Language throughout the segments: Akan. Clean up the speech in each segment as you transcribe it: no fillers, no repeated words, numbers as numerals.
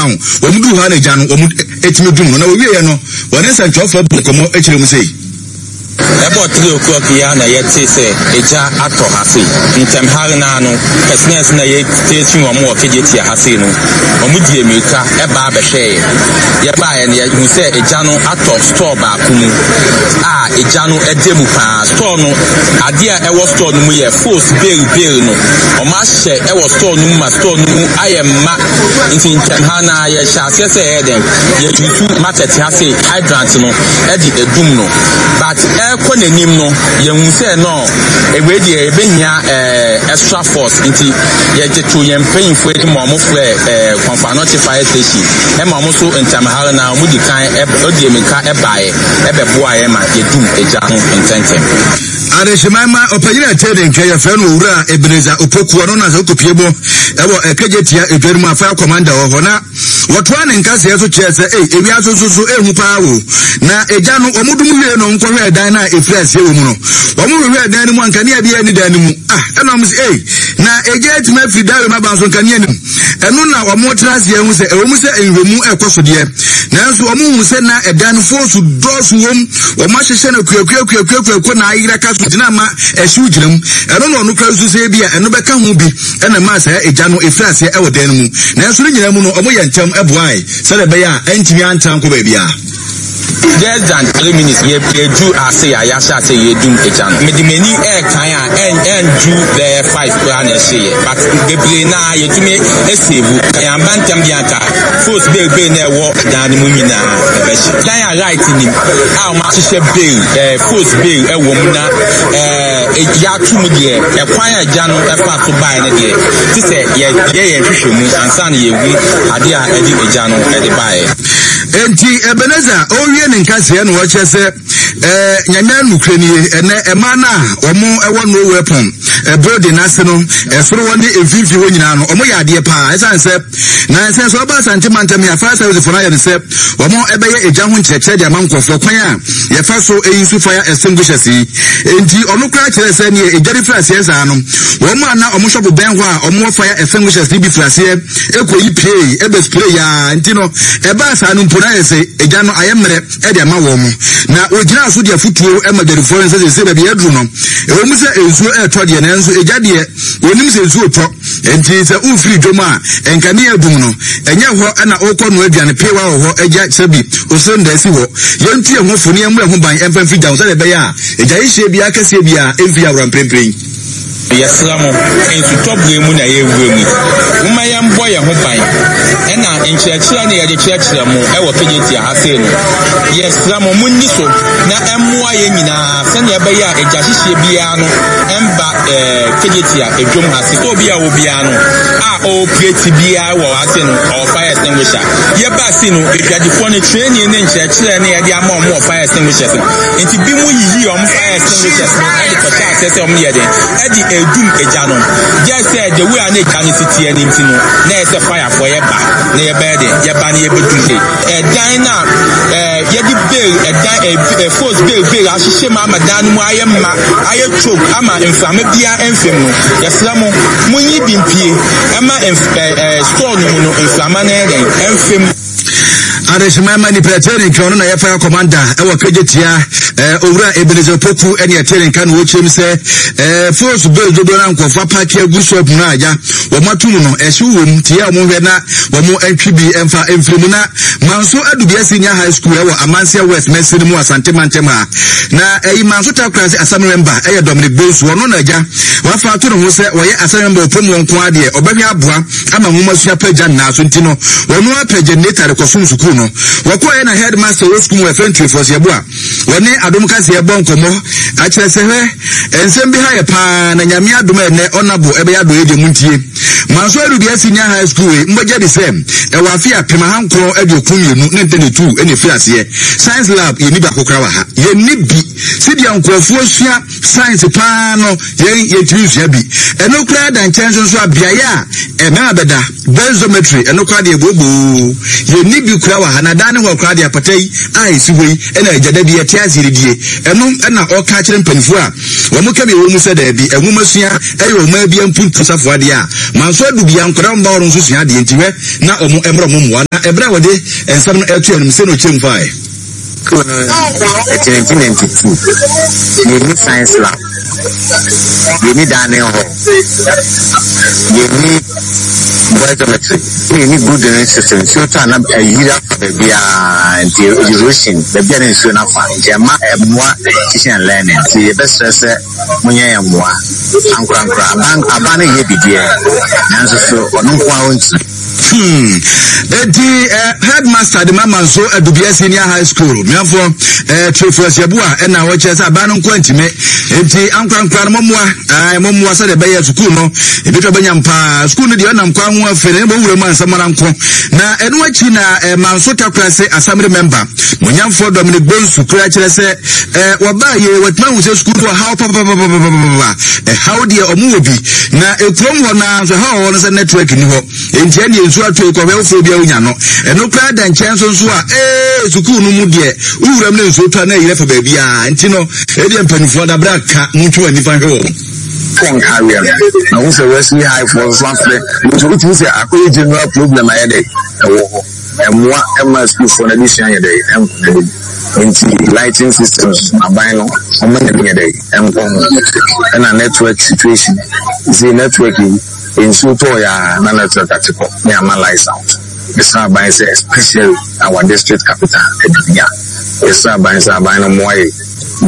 down. Wɔn duru hɔ a na egya no wɔn etumi dum no. Na wɔwieɛ no, wɔne nsɛntwerɛfoɔ bɔ nkɔmmɔ kyerɛ mu sei. Ɛbɔ 3 o'clock yi ara na yɛtee sɛ egya atɔ ha sei. Ntɛm hare no ara no, personnels no a yɛstation wɔn wɔ Kejetia ha sei no, wɔdii mmirika baa bɛhwɛeɛ. Yɛbaeɛ no, yɛhuu sɛ egya no atɔ store baako mu a egya no da mu pa ara. Store no, adeɛ a ɛwɔ store no mu yɛ fos bale bale no, wɔahyɛ wɔ store no mu ma store no mu ayɛ ma. Nti ntɛm ha no ara yɛhyɛ aseɛ sɛ yɛyɛ dɛn, yɛuse market ha sei hydrant no de adum no. But ɛrekɔ n'anim no, yɛhu sɛ no, wei deɛ yɛbɛhia eh, extra force. Nti yɛgye to yɛn mpanyinfoɔ anim ma wɔfrɛ eh, Komfo Anokye Fire Station ɛma wɔn nso ntɛm ha no ara wɔdi kan ɛdi mmirika ɛbaeɛ ɛbɛboa yɛn ma yɛdum egya no ntɛntɛm. Adehyeman ma ɔpanyin a ɛtee ne nka yɛfrɛ no Owura Ebenezer Opoku, ɔno na sɛ wokɔpie mu ɛwɔ Ɛkɛgye tia edwa no mu a fire commander wɔ hɔ na wɔtoa ne nkaseɛ so kyerɛ sɛ ei ewiase nso so ehu paa wo na egya no wɔn dum wie no nkɔhwɛ ɛdan no a efiri aseɛ wɔ mu no wɔn hwehwɛ ɛdan no mu a nkanea bi ɛni dan no mu ah ɛna wɔn sɛ ei na egya atumi afiri dan mu aba nso nkanea no mu. Ɛno na wɔtra ase ahu sɛ ɛwom sɛ nhwehwɛmu rekɔ so deɛ, nanso wɔhu sɛ na ɛdan no foosu dɔɔso wom. Wɔahyehyɛ no akuakuakuakuakuakuo na ayera ka so gyina ama ɛhyew gyina mu. Ɛno na ɔno koraa susu sɛ ebia ɛno bɛka ho bi na ɛmaa saa egya no firi aseɛ wɔ dan no mu. Nanso ne nyinaa mu no, wɔyɛɛ ntɛm boae sɛdeɛ ɛbɛyɛ a ɛntumi antra nkɔ baabiara. Less than 3 minutes yɛ yɛdu ase a yɛahyɛ ase yɛdum egya no. Mede m'ani ɛɛkan a ɛn ɛndu bɛyɛ 5 koraa na ɛhyeeɛ, but bebree naa yɛtumi esave. Yɛamba ntɛm deɛ anka fos bebree na ɛwɔ dan no mu nyinaa ɛbɛhye. Dan a light nim a wɔn ahyehyɛ bail ɛɛ fos bail ɛwɔ mu na ɛɛ yɛato mu deɛ, ɛkwan a egya no ɛfa so baeɛ no deɛ, te sɛ yɛyɛ yɛn hwehwɛ mu ansa na yɛhu adeɛ a ɛde egya no ɛde baeɛ. Enti Ebenezer ɔrewie ne nkaseɛ na ɔkyerɛ sɛ ɛɛ Nyame nokorɛ nie, ɛnɛ ɛmaa no a wɔn ɛwɔ no weapon building n'ase no ɛsoro hɔ ne mfimfini hɔ nyinaa no wɔn yɛ adeɛ paa, ɛsan sɛ na ɛsɛ sɛ ɔba Asante mantam yi a fire service fo no ayɛ no sɛ wɔn ɛbɛyɛ egya ho nkyerɛkyerɛ de ama nkurɔfoɔ kwan a yɛfa so eyi so fire extinguishers yi. Enti ɔno koraa kyerɛ sɛ neɛ egya no firi aseɛ saa no, wɔn a na wɔn shop bɛn hɔ a wɔn wɔ fire extinguishers no bi firi aseɛ Ekoyi piei, ɛbɛ spray yaa, nti no ɛbaa saa no mpo na ayɛ sɛ egya no ayɛ mmerɛ de ama wɔn. Na wɔgyinaa so de afotuo ma dwadifoɔ no sɛ seesei baabi aduru no, ɛwɔ mu sɛ nsuo retɔ deɛ, nanso egya deɛ wɔnim sɛ nsuo retɔ, nti sɛ wofiri dwam a nkanea adum no, ɛnyɛ hɔ na wokɔ noa aduane, peewa wɔ hɔ, agya kyerɛ bi, osrenda si hɔ. Yɛntu yɛn ho fo na yɛmmɔ yɛn ho ban mfa mfiri gya ho sɛdeɛ ɛbɛyɛ a egya hyehyeɛ biara kɛseɛ biara mfiri yɛn awora mprempren. Yɛsrɛ mo, nsutɔ berɛ mu na yɛrewura mu yi, momma yɛmbɔ yɛn ho ban. Ɛna nkyerɛkyerɛ no yɛde kyerɛkyerɛ mo wɔ Kejetia ha sei no, yɛsrɛ mo monni so na ɛmmoa yɛn nyinaa sɛnea ɛbɛyɛ a egya hyehyeɛ biara no ɛmba ɛɛ Kejetia edwom ha sei. Sɛ obi a ɔwɔ biara no a ɔrepreti biara wɔ ha sei no, ɔwɔ fire extinguisher. Yɛbaa sei no, adwadifoɔ no training ne nkyerɛkyerɛ no yɛde ama wɔn wɔ fire extinguishers no, nti bi mo yiyii wɔn fire extinguishers no de kɔhyɛ aseɛ sɛ wɔn yɛ den de edum egya no. Gyɛ sɛ the way a na egya no si teɛ no nti no, na ɛyɛ sɛ firefoɔ yɛba na yɛbɛyɛ den, yɛba na yɛbɛdum de ɛdan no a ɛɛ yɛde bail ɛdan ɛɛ force bail bail ahyehyɛ mu ama dan no mu ayɛ ma ayɛ choke ama mframa biara mfam no. Yɛsrɛ mo, monyi bi mpie ɛma ɛɛ ɛɛ store no mu no mframa no yɛ den ɛmfam. Adehyema ma nipa ɛtɛ ne nka, ɔno na yɛ fire commander ɛwɔ kegye tia ɛɛ Owura Ebenezer Poku ɛne ɛtɛ ne nka na wɔkyerɛ mu sɛ ɛɛ force bill dodoɔ na nkurɔfoɔ apaaki agu shop mu no agya wɔn ato mu no ɛhyew wɔ mu tia wɔn hwɛ na wɔn ntwi bi ɛmfa mfiri mu. Na Manso Adubia Senior High School ɛwɔ Amansia West Mɛsi no mu Asante mantam ha na ɛyi Manso Takorase assembly member ɛyɛ Dominic Bonsu, ɔno na agya wafa ato ne ho sɛ wɔyɛ assembly member ɔpɔ mu nko adeɛ ɔbɛhwɛ aboa ama nwomasua pagya nnaa so nti no, wɔn ara pɛ generator de kɔsom sukuu no. Wɔkɔeɛ na headmaster wɔ sukuu mu wɔfrɛ no Trifos Yeboah, wɔne Adom Kaseɛ bɔ nkɔmmɔ akyerɛ sɛ hwɛ, nsɛm bi ha yɛ paa na Nyame adom a ɛnnɛ ɔnabo ɛbɛyɛ adɔeɛ deɛ montie. Manso Adubea Senior High School wei mbɔgya di sɛ ɛwɔ afe 1992 ne ntɛnɛtu ɛna ɛfiri aseɛ. Science lab yɛnni baako koraa wɔ ha. Yɛnni bi. Sɛdeɛ nkurɔfoɔ sua Science paa no, yɛn yɛntumi nsua bi. Ɛno koraa da nkyɛn nso nso a, beaeɛ a mmarima bɛda, boys dormitory, ɛno koraa deɛ booboo. Yɛnni bi koraa wɔ ha, na daa ne hɔ koraa deɛ apata yi a ɛsi hɔ yi na agya da bi yɛte ase yɛdidi. die. Ɛno na ɔka akyerɛ mpanyinfoɔ a wɔn ka bi wɔ mu sɛ daabi, nwomasua ɛyɛ ɔman bi mpuntu safoa adeɛ a manso adu bia nkwadaa mma wɔn nso sua adeɛ nti hwɛ na wɔn mmra wɔn mmoa na ɛberɛ a wɔde nsɛm no ɛto anim sɛ na ɔkyerɛ mu faeɛ. School no ɛte 1992 yɛnni science lab, yɛnni dining hall, yɛnni boys dormitory, na yɛnni good drainage system. Nsuo tɔ a na ayiri afa baabiara nti erosion baabi a na nsuo no afa nti ɛma ɛmmoa teaching and learning nti yɛbɛsrɛ sɛ monyɛ yɛn mmoa ankorankora aban aban no yɛ bideɛ nanso so ɔno nko ara ɔntumi. Eti eh, headmaster de mama nso Adubia Senior High School miafoɔ eh, Theophilus Yeboah ɛna ɔkyerɛ sɛ aban no nko antimi enti ankorankora no mɔmmoa eh, mɔmmoa sɛdeɛ ɛbɛyɛ sukuu no ebitwa bɛnya mpaa sukuu no deɛ ɔnam kwan ho afei na ɛbɔ wura mu ansɛm ara nko na ɛno akyi na eh, Manso Takorase Assembly member monyamfoɔ Dominic Bonsu kura kyerɛ sɛ eh, wɔbaa yie wɔatumi ahu sɛ sukuu no ɔhaw papapapapapa ɛhaw deɛ ɔmo wɔ bi na ekurom hɔ naa nso ɛhaw wɔ no sɛ network ni hɔ enti ɛdeɛ nsuo atɔ ekɔhwɛ wofoɔ bi a wonya no ɛno koraa da nkyɛn nso nso a ee sukuu no mu deɛ wowura mu ne nsuo tɔ a na ɛyerɛ fa baabi a nti no ɛdeɛ mpanimfoɔ dabra ka montwe wɔn nifa hwɛ wɔn. Phone carrier no na wo sɛ Wesley High foɔ nso afrɛ nso wotumi sɛ akɔyɛ general problem ayɛ dɛ ɛwɔ hɔ. Ɛmmoa mma asukuufoɔ no adesua nyɛ dɛn? Ɛnkɔ n'anim. Nti lighting systems aban no wɔn nyɛ nyɛ dɛn? Ɛnkɔ ho. Ɛna network situation, seisei network yi nsuo tɔɔ yɛ a na network ate kɔ ne ama lights out. Yɛsrɛ aban sɛ especially our district capital Adubia, yɛsrɛ aban sɛ aban no mmoa yɛn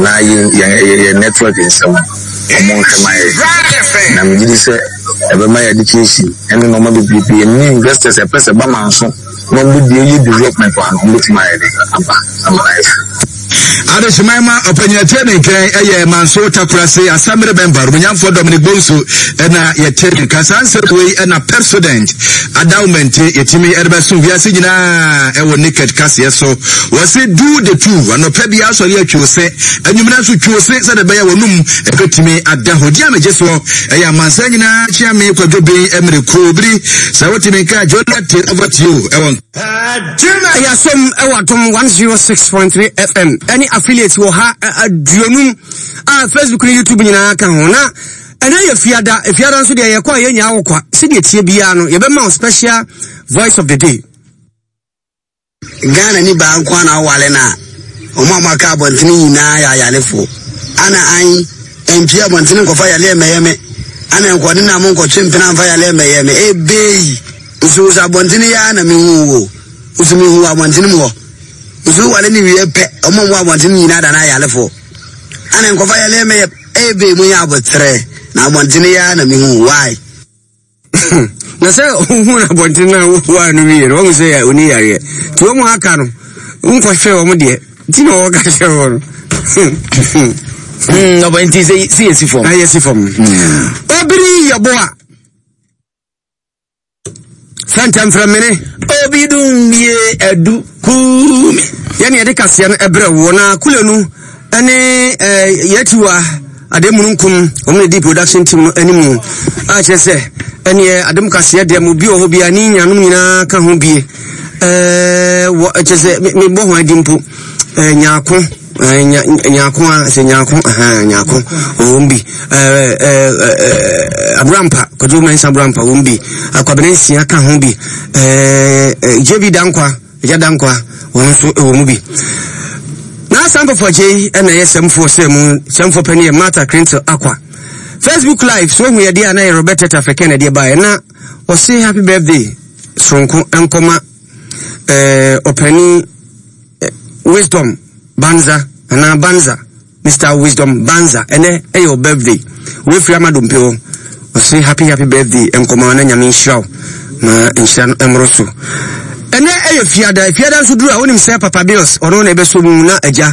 na yɛn yɛn yɛn network nsɛm no wɔn nhwɛ ma yɛn. Na megye di sɛ. Ɛbɛma yɛ education ɛne nnoɔma bebrebe ɛne investors ɛpɛ sɛ ɛba manso na wɔn bɛ yɛ development wɔ ha no wɔn bɛtumi ayɛ de aba ama no ayɛ fɛ. Adehyeman ma ɔpanyin ɛte ne nkɛn ɛyɛ Manso Takorase Assembly member Omunyamfoɔ Dominic Bonsu ɛna yɛte ne nka saa nsɛm wei ɛna Pepsodent adawmente yɛtumi ɛde bɛso wiase nyinaa ɛwɔ naked kaseɛ so wɔse do the two anɔpa bi asɔre atwi ose anwummerɛ nso twi ose sɛdeɛ ɛbɛyɛ wɔnum ɛbɛtumi ada hɔ di a megye soɔ Ɛyɛ amansan nyinaa kyea me kwadwo ben mmere koo biri sɛ wote me nka Jonathan over to you ɛwɔ Ɛyɛ asɛm ɛwɔ Adom 106.3 FM ɛne affiliates wɔ ha aduonum a Facebook ne YouTube nyinaa ka ho na ɛnɛ yɛ fiada fiada nso deɛ yɛkɔ a yɛnya wo kwa sɛdeɛ tie biara no yɛbɛma wo special voice of the day. Ghana ni baa nko ara na ɔwale no a, wɔn a wɔaka abɔntene nyinaa yɛ ayarefo. Ana an mpie abɔntene nkɔfa yareɛ mmɛyɛ me. Ana nkɔde na mo nkɔtwe mpena mfa yareɛ mmɛyɛ me. Ebei! Nso wo sɛ abɔntene yi ara na mehu wo. Nso mehu wɔ abɔntene mu hɔ. Nso wowale no wie pɛ, wɔn a wɔwɔ abɔntene nyinaa da no ayarefo. Ana nkɔfa yareɛ mmɛyɛ. Ebei monyɛ aboterɛ na abɔntene yi ara na mehu wo. Why? na sɛ wohu no abɔnten no a woa no wie no wahu sɛ ɔni yareɛ nti wɔn aka no wonkɔhwɛ wɔn deɛ nti na wɔka kyerɛ wɔ no ɔbɔ nti sɛ sɛ yɛsi fam na yɛsi fam obiri yɛbo a fɛntɛmfrɛmene obi dum bie adu kuumi yɛne yɛde kaseɛ no ɛbrɛ woɔ na kule no ɛne ɛɛ yɛtiwa ade mununkum wɔn na di production team no anim a kyerɛ sɛ ɛneɛ adom kaseɛ deɛ mo bi wɔ hɔ bia ne nyanom nyinaa ka ho bie ɛɛ wɔ kyerɛ sɛ mebɔ ho adi mpo ɛɛ nyaako ɛɛ nya nyaako a sɛ nyaako ɛhɛn nyaako wɔn bi ɛɛ ɛɛ ɛɛ aburampa kwadwo mɛnsa aburampa wɔn bi akwabena nsia ka ho bi ɛɛ ɛɛ jb dankwa. Agya Dankwa, wɔn nso wɔ mu bi. Na saa mpɔpɔgye yi na ɛyɛ sɛmfoɔ sɛ mu sɛmfoɔ pɛ ne yɛ Martha Crintle Akwa. Facebook live so ohu yɛdeɛ a na yɛ Robert Teta Fɛkɛ na ɛdeɛ baeɛ na ɔse happy birthday soronko nkɔma ɛɛ ɔpani Wisdom Banza anaa Banza. Mister Wisdom Banza ɛnɛ ɛyɛ wo birthday wei firi ama dompe hɔ ɔse happy happy birthday nkɔma na nyame nhyira wo ma nhyira no ɛmmoro so ɛnɛ ɛyɛ fiada fiada nso duru a wonim sɛ papa bills ɔno na ɛbɛsɔ mu na agya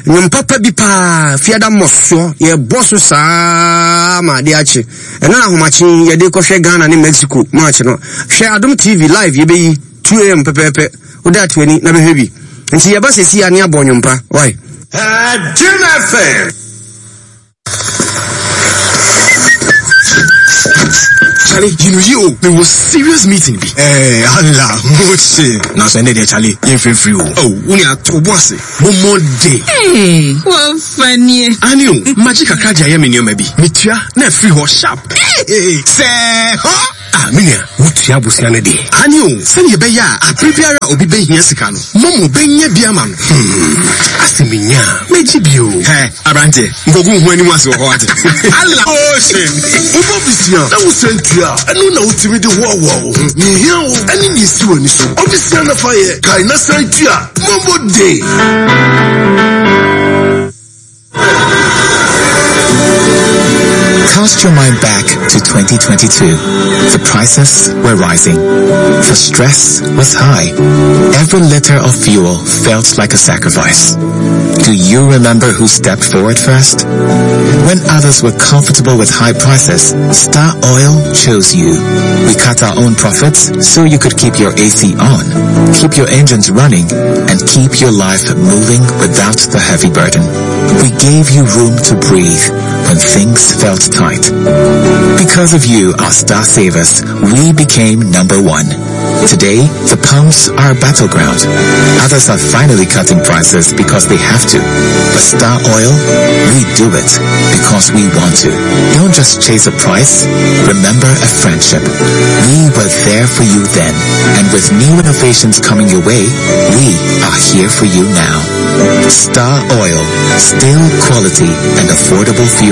nnwom papa bi paa fiada mmɔsoɔ yɛbɔ so saa ma adeɛ akye ɛno na ahomakye yɛde kɔhwɛ Ghana ne Mexico match no hwɛ Adom TV live yɛbɛyi 2am pɛpɛɛpɛ Wo da to ani na bɛhwɛ bi. Nti yɛba sɛsi a ne abɔ nnwom pa. Why? Jim FM. Charlie, yi no yie o, mewɔ serious meeting bi. Ɛɛ, Allah, moche. Nanso ɛnnɛ deɛ Charlie, yɛmfirifiri o. Oh, wo nua, to wo bo ase. Bɔ mmɔden. Ee, wɔfa nie. Aane o, magye kakra de ayɛ me nneɛma bi. Metua na afiri hɔ sharp. Ee, sɛɛ hɔ! Ah, me nua, wotua abosea no deɛ? Aane o, sɛdeɛ ɛbɛyɛ a abere biara a obi bɛhia sika no, Momo bɛnya bi ama no. Hmm, asɛ menya a, mɛgye bi o. Hɛ, aberanteɛ, nkɔgu wo ho anim ase wɔ hɔ wate. Allah ocean! Wobɔ bisia na wosan tua a, ɛno na wotumi de hoahoa wo ho. Nea ehia wo ne nea esi w'ani so. Bɔ bisia na fa yɛ, kae na san tua. Momo de! Cast your mind back to 2022. The prices were rising. The stress was high. Every liter of fuel felt like a sacrifice. Do you remember who stepped forward first? When others were comfortable with high prices, Star Oil chose you. We cut our own profits so you could keep your AC on, keep your engines running, and keep your life moving without the heavy burden. We gave you room to breathe when things felt tight. Because of you, our star savers, we became number one. Today, the pumps are a battleground. Others are finally cutting prices because they have to. But Star Oil, we do it because we want to. Don't just chase a price. Remember a friendship. We were there for you then. And with new innovations coming your way, we are here for you now. Star Oil, still quality and affordable fuel.